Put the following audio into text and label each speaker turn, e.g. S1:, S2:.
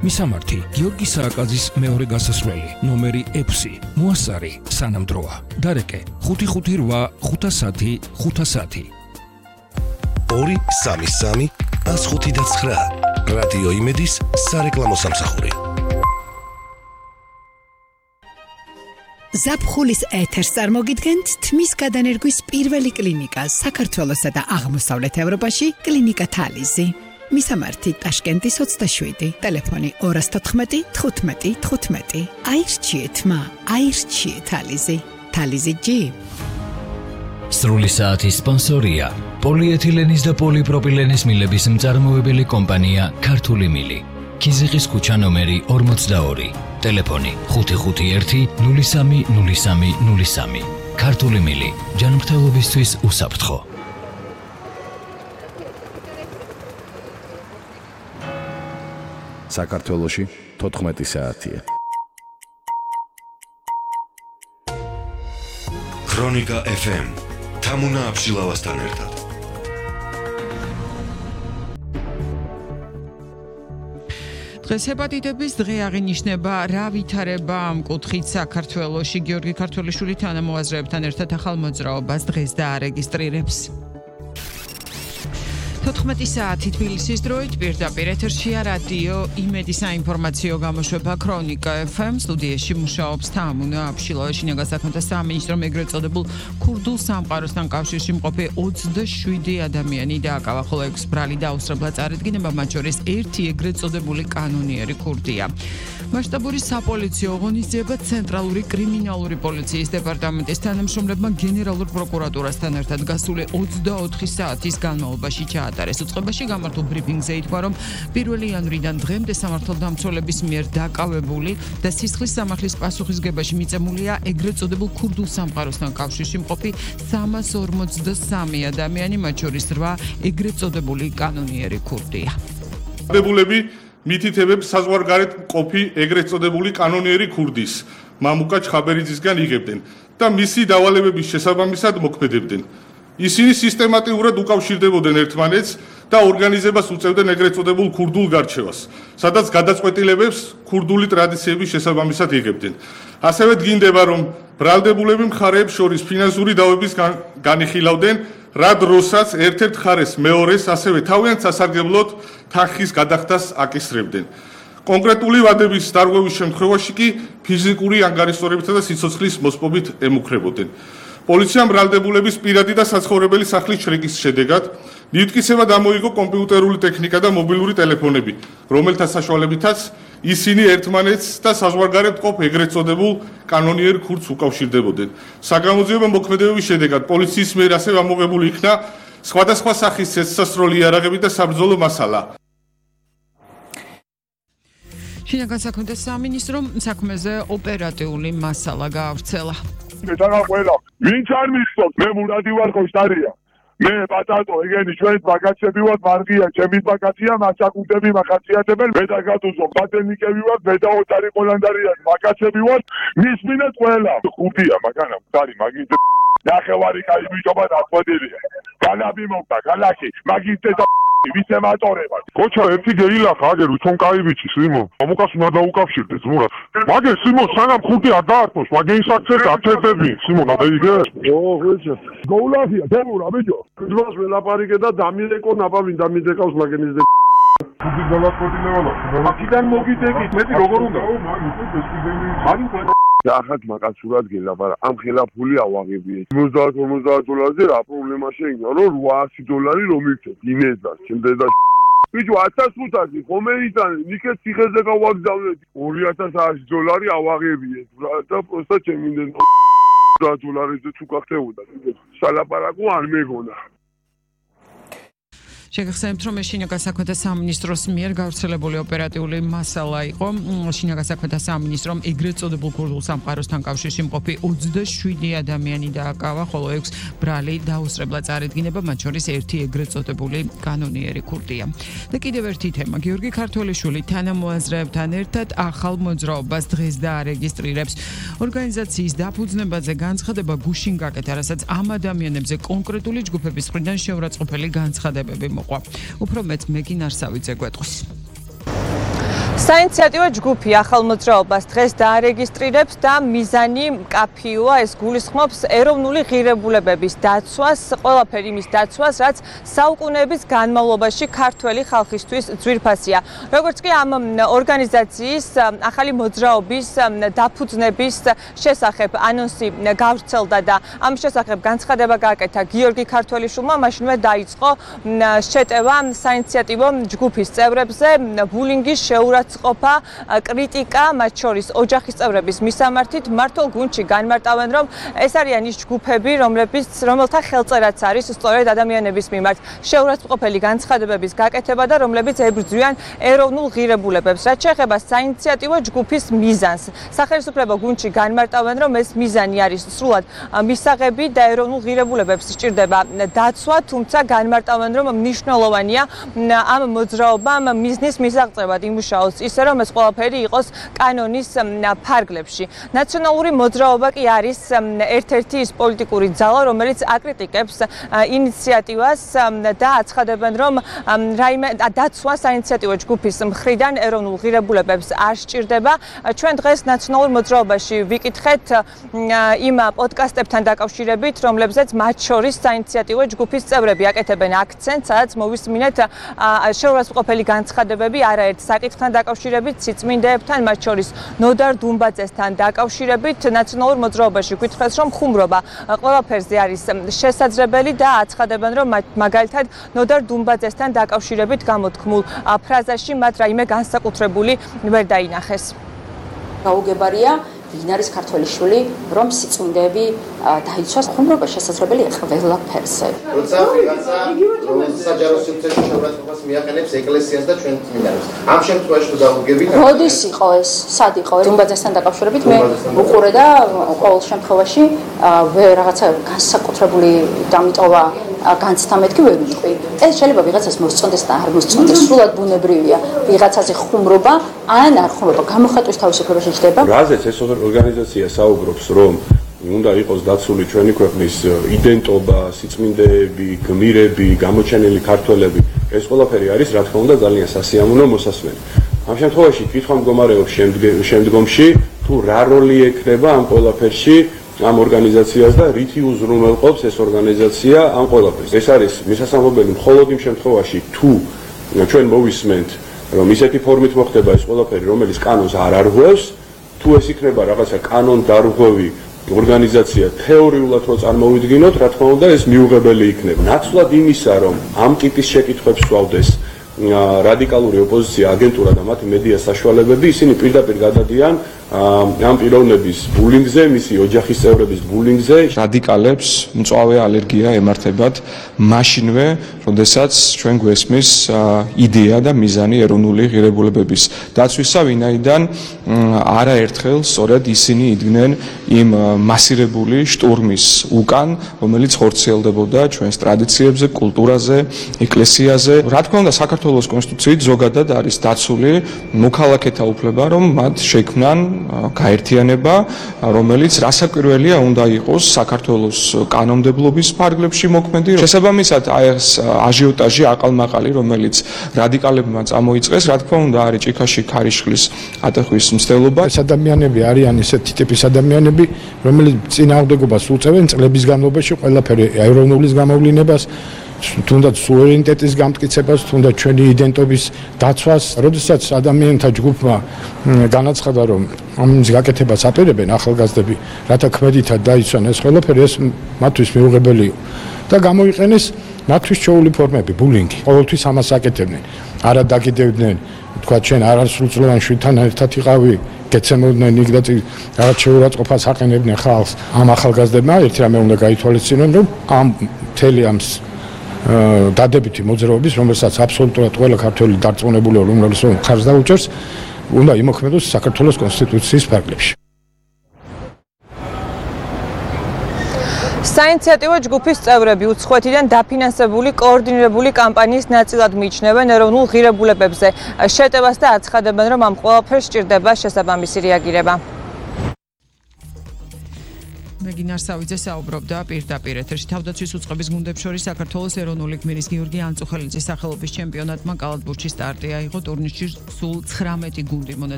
S1: მისამართი გიორგი სააკაძის მეორე გასასვლელი ნომერი 6 მოასარი სანამდროა დარეკე 558 510
S2: 233 159 რადიო იმედის სარეკლამო სამსახური
S3: ზაფხულის ეთერს წარმოგიდგენთ თმის გადანერგვის პირველი კლინიკა საქართველოსა და აღმოსავლეთ ევროპაში კლინიკა თალიზი მისამართი ტაშკენტის 27 ტელეფონი 214 15 15 აირჩიეთ თალიზი თალიზი G
S4: სრული საათის სპონსორია პოლიეთილენის და პოლიპროპილენის მილების მწარმოებელი კომპანია ქართული მილი ქიზიყის ქუჩა ნომერი 42 ტელეფონი 551-030303 ქართული მილი ჯანმრთელობისთვის უსაფრთხო
S5: საქართველოში 14 საათია.
S2: ქრონიკა FM თამუნა აბშილავასთან ერთად.
S6: დღეს ჰეპატიტების დღე აღინიშნება რა ვითარება ამ კუთხით საქართველოში გიორგი ქართველიშვილი თანამოაზრეებთან ერთად ახალ მოძრაობას დღეს დაარეგისტრირებს 14 საათი თბილისის დროით პირდაპირ ეთერშია რადიო იმედი საინფორმაციო გამოშვება ქრონიკა FM სტუდიაში მუშაობს თამუნა აბშილავა შინაგან საქმეთა სამინისტრომ ეგრეთ წოდებულ ქურდულ სამყაროსთან კავშირში მყოფი 27 ადამიანი დააკავა, ხოლო 6 ბრალი დაუსრებლად წარადგინება, მათ შორის ერთი ეგრეთ წოდებული კანონიერი ქურდია. მასშტაბური საპოლიციო ღონისძიება ცენტრალური კრიმინალური პოლიციის დეპარტამენტის თანამშრომლებმა გენერალურ პროკურატურასთან ერთად გასული 24 საათის განმავლობაში ჩაატარეს. უწყებაში გამართულ ბრიფინგზე ითქვა, რომ 1 იანვრიდან დღემდე სამართალდამცველების მიერ დაკავებული და სისხლის სამართლის პასუხისგებაში მიწემულია ეგრეთ წოდებულ ქურდულ სამყაროსთან კავშირში მყოფი 353 ადამიანი, მათ შორის 8 ეგრეთ წოდებული კანონიერი ქურდია.
S7: მითითებებს საზღვარგარეთ მყოფი ეგრეთ წოდებული კანონიერი ქურდის მამუკა ჩხაბერიძისგან იღებდნენ და მისი დავალებების შესაბამისად მოქმედებდნენ. ისინი სისტემატიურად უკავშირდებოდნენ ერთმანეთს და ორგანიზებას უწევდნენ ეგრეთ წოდებულ ქურდულ გარჩევას, სადაც გადაწყვეტილებებს ქურდული ტრადიციების შესაბამისად იღებდნენ. ასევე დგინდება, რომ ბრალდებულები მხარეებს შორის ფინანსური დავების განიხილავდნენ, რა დროსაც ერთ-ერთ მხარეს მეორეს ასევე თავიანთ სასარგებლოდ თანხის გადახდას აკისრებდნენ. კონკრეტული ვადების დარღვევის შემთხვევაში კი ფიზიკური ანგარიშტორებითა და სიცოცხლის მოსპობით ემუქრებოდნენ. პოლიციამ ბრალდებულების პირადი და საცხოვრებელი სახლის შრიკის შედეგად მითვისება გამოიგო კომპიუტერული ტექნიკა და მობილური ტელეფონები, რომელთა საშუალებითაც ისინი ერთმანეთს და საზღვარგარეთ მყოფ ეგრეთ წოდებულ კანონიერ ქურდს უკავშირდებოდნენ. საგამოძიებო მოქმედებების შედეგად პოლიციის მიერ ასევე ამოღებული იქნა სხვადასხვა სახის ცეცხლსასროლი იარაღები და საბრძოლო მასალა.
S6: შინაგან საქმეთა სამინისტრომ საქმეზე ოპერატიული მასალა გაავრცელა.
S8: ვინც არ მისწონს, მე მურადი ვარ ხოშტარია. მე პატატო, ეგენი ჩვენ ბაგაცები ვართ, მარგია, ჩემი ბაგაცია, მასაკუთები მახაციათებენ, მე და გატუზო, ბატენიკები ვართ, მე და ოტარი ყოლანდარია, ბაგაცები ვართ, მისმინეთ ყველა. ხუთია, მაგანა, მდარი, მაგით ნახევარი კაი ბიჭობა დაწყვეტილია. განაბი მოკდა, გალაკი, მაგით და ვისე მატორებად.
S9: კოჩა ერთი გეილახა, აგერ უჩონ კაი ბიჭი, სიმო. მომუკას უნდა დაუკავშირდეს, მურა. მაგე სიმო, სანამ ხუთი არ დაართოს, მაგე ისაქცეს ათერთები, სიმო, ნადეიგე?
S8: ხოჭა. გოულაფია, თემურა, ბიჭო. ძმას ველაპარიკე და დამილეკო ნაპავინ დამიძეკავს მაგენის და
S9: ხუთი გადაწყვეტილება და
S8: აქიდან მოგიდეკით, მეტი როგორ უნდა? ახაც მაკაცურად გელაპარა, ამ ხელაფული ავაღებიეთ. 50 დოლარზე რა პრობლემა შეიქმნა, რომ $800 რომ მივცეთ ინეზას, ჩემდეს და ბიჭო 1500 ხომე იტანე, ნიკეთ ციხეზე გავაგზავნეთ. $2000 ავაღებიეთ და პროსტა ჩემინდენ $100 თუ გახდებოდა. სალაპარაკო არ მეგონა.
S6: შეგახსენებთ, რომ შინაგან საქმეთა სამინისტროს მიერ გავრცელებული ოპერატიული მასალა იყო. შინაგან საქმეთა სამინისტრომ ეგრეთ წოდებულ ქურდულ სამყაროსთან კავშირში მყოფი 27 ადამიანი დააკავა, ხოლო 6 ბრალი დაუსრებლად წარადგინება, მათ შორის ერთი ეგრეთ წოდებული კანონიერი ქურდია. და კიდევ ერთი თემა, გიორგი ქართველიშვილი თანამოაზრეებთან ერთად ახალ მოძრაობას დღეს დაარეგისტრირებს. ორგანიზაციის დაფუძნებაზე განცხადება გუშინ გაკეთა, რასაც ამ ადამიანებზე კონკრეტული ჯგუფების მხრიდან შეურაცხყოფელი განცხადებები მოყვა. უფრო მეტ მეგინ არსავიძე გვეტყვის.
S10: საინიციატივო ჯგუფი ახალ მოძრაობას დღეს დაარეგისტრირებს და მიზანი მკაფიოა, ეს გულისხმობს ეროვნული ღირებულებების დაცვას, ყველაფერი იმის დაცვას, რაც საუკუნეების განმავლობაში ქართველი ხალხისთვის ძვირფასია. როგორც კი ამ ორგანიზაციის ახალი მოძრაობის დაფუძნების შესახებ ანონსი გავრცელდა და ამ შესახებ განცხადება გააკეთა გიორგი ქართველიშვილმა, მაშინვე დაიწყო შეტევა საინიციატივო ჯგუფის წევრებზე, ბულინგის შეურაცხყოფა, კრიტიკა, მათ შორის ოჯახის წევრების მისამართით მართულ გუნდში განმარტავენ, რომ ეს არიან ის ჯგუფები, რომელთა ხელწერაც არის სწორედ ადამიანების მიმართ შეურაცხყოფელი განცხადებების გაკეთება და რომლებიც ებრძვიან ეროვნულ ღირებულებებს. რაც შეეხება საინიციატივო ჯგუფის მიზანს, სახელმწიფო გუნდში განმარტავენ, რომ ეს მიზანი არის სრულად მისაღები და ეროვნულ ღირებულებებს სჭირდება დაცვა, თუმცა განმარტავენ, რომ მნიშვნელოვანია ამ მოძრაობამ მიზნის მისაღწევად იმუშაოს ისე, რომ ეს ყველაფერი იყოს კანონის ფარგლებში. ნაციონალური მოძრაობა კი არის ერთ-ერთი ის პოლიტიკური ძალა, რომელიც აკრიტიკებს ინიციატივას და აცხადებენ, რომ რაიმე დაცვა საინიციატივო ჯგუფის მხრიდან ეროვნულ ღირებულებებს არ სჭირდება. ჩვენ დღეს ნაციონალურ მოძრაობაში ვიკითხეთ იმ პოდკასტებთან დაკავშირებით, რომლებზეც მათ შორის საინიციატივო ჯგუფის წევრები აკეთებენ აქცენტს, სადაც მოვისმინეთ შეურაცხყოფელი განცხადებები არაერთ საკითხთან დაკავშირებით, სიწმინდეებთან, მათ შორის ნოდარ დუმბაძესთან დაკავშირებით. ნაციონალურ მოძრაობაში გითხრეს, რომ ხუმრობა ყველაფერზე არის შესაძლებელი და აცხადებენ, რომ მაგალითად ნოდარ დუმბაძესთან დაკავშირებით გამოთქმულ ფრაზაში მათ რაიმე განსაკუთრებული ვერ დაინახეს.
S11: გაუგებარია ვინ არის ქართველი შვილი, რომ სიწმინდეები დაიცვას, ხუმრობა შესაძლებელია ყველაფერზე.
S12: როცა ვიღაცა საჯარო სივრცეში შეურაცხყოფას მიაყენებს ეკლესიას და ჩვენ წმინდანებს. ამ შემთხვევაში თუ დაუგებით,
S11: როდის იყო ეს? სად იყო? დუმბაძესთან დაკავშირებით მე უყურე და ყოველ შემთხვევაში რაღაცა განსაკუთრებული დამიტოვა განცდა მეთქი ვერ ვიტყვი. ეს შეიძლება ვიღაცას მოსწონდეს და არ მოსწონდეს, სრულად ბუნებრივია. ვიღაცაზე ხუმრობა ან არ ხუმრობა, გამოხატვის თავისუფლება შეჭდება.
S9: რაზეც ეს ორგანიზაცია საუბრობს, რომ უნდა იყოს დაცული ჩვენი ქვეყნის იდენტობა, სიწმინდეები, გმირები, გამოჩენილი ქართველები. ეს ყველაფერი არის, რა თქმა უნდა, ძალიან სასიამოვნო მოსასმენი. ამ შემთხვევაში კითხვა მდგომარეობს შემდგომში, თუ რა როლი ექნება ამ ყველაფერში ამ ორგანიზაციას და რითი უზრუნველყოფს ეს ორგანიზაცია ამ ყველაფერს. ეს არის მისასალმებელი მხოლოდ იმ შემთხვევაში, თუ ჩვენ მოვისმენთ, რომ ისეთი ფორმით მოხდება ეს ყველაფერი, რომელიც კანონს არ არღვევს, თუ ეს იქნება რაღაცა კანონდარღვევი ორგანიზაცია თეორიულად რო წარმოვიდგინოთ, რა თქმა უნდა, ეს მიუღებელი იქნება. ნაცვლად იმისა, რომ ამ ტიპის შეკითხვებს სვავდეს რადიკალური ოპოზიცია, აგენტურა და მათი მედია საშუალებები, ისინი პირდაპირ გადადიან ამ პიროვნების ბულინგზე, მისი ოჯახის წევრების ბულინგზე.
S13: რადიკალებს მწვავე ალერგია ემართებათ მაშინვე, როდესაც ჩვენ გვესმის იდეა და მიზანი ეროვნული ღირებულებების დაცვისა, ვინაიდან არაერთხელ სწორედ ისინი იდგნენ იმ მასირებული შტურმის უკან, რომელიც ხორციელდებოდა ჩვენს ტრადიციებზე, კულტურაზე, ეკლესიაზე. რა თქმა უნდა, საქართველოს კონსტიტუციით ზოგადად არის დაცული მოქალაქეთა უფლება, რომ მათ შექმნან გაერთიანება, რომელიც რასაკვირველია უნდა იყოს საქართველოს კანონმდებლობის ფარგლებში მოქმედი. შესაბამისად, ეს აჟიოტაჟი აყალმაყალი, რომელიც რადიკალებმა წამოიწყეს, რა თქმა უნდა, არის ჭიქაში ქარიშხლის ატეხვის მცდელობა.
S14: ეს ადამიანები არიან ისეთი ტიპის ადამიანები, რომელიც წინააღმდეგობას უწევენ წლების განმავლობაში ყველაფერი ეროვნულის გამოვლინებას, თუნდაც სუვერენიტეტის გამტკიცებას, თუნდაც ჩვენი იდენტობის დაცვას. როდესაც ადამიანთა ჯგუფმა განაცხადა, რომ ამის გაკეთებას აპირებენ ახალგაზრდები, რათა ქმედითად დაიცვან ეს ყველაფერი, ეს მათთვის მიუღებელი იყო და გამოიყენეს მათთვის ჩვეული ფორმები, ბულინგი. ყოველთვის ამას აკეთებდნენ. არა დაგიდევდნენ, თქვა ჩვენ არასრულწლოვან შვილთან ერთად იყავი, გეცემოდნენ იქ და რაღაც შეურაცხყოფას აყენებდნენ ხალხს. ამ ახალგაზრდებმა ერთი რამე უნდა გაითვალისწინონ, რომ ამ მთელი ამ დადებითი მოძრაობის, რომელსაც აბსოლუტურად ყველა ქართველი დარწმუნებული რომელიც ხარს დაუჭერს, უნდა იმოქმედოს საქართველოს კონსტიტუციის ფარგლებში.
S10: საინიციატივო ჯგუფის წევრები უცხოეთიდან დაფინანსებული კოორდინირებული კამპანიის ნაწილად მიიჩნევენ ეროვნულ ღირებულებებზე. შეტევას და აცხადებენ, რომ ამ ყველაფერს სჭირდება შესაბამისი რეაგირება.
S6: მეგინარ სავიძე საუბრობდა პირდაპირ ეთერში. თავდაცვის უწყების გუნდებს შორის საქართველოს ეროვნული გმირის გიორგი ანწუხელიძის სახელობის ჩემპიონატმა კალათბურთში სტარტი აიღო. ტურნირში სულ 19 გუნდი მონაწილეობდა.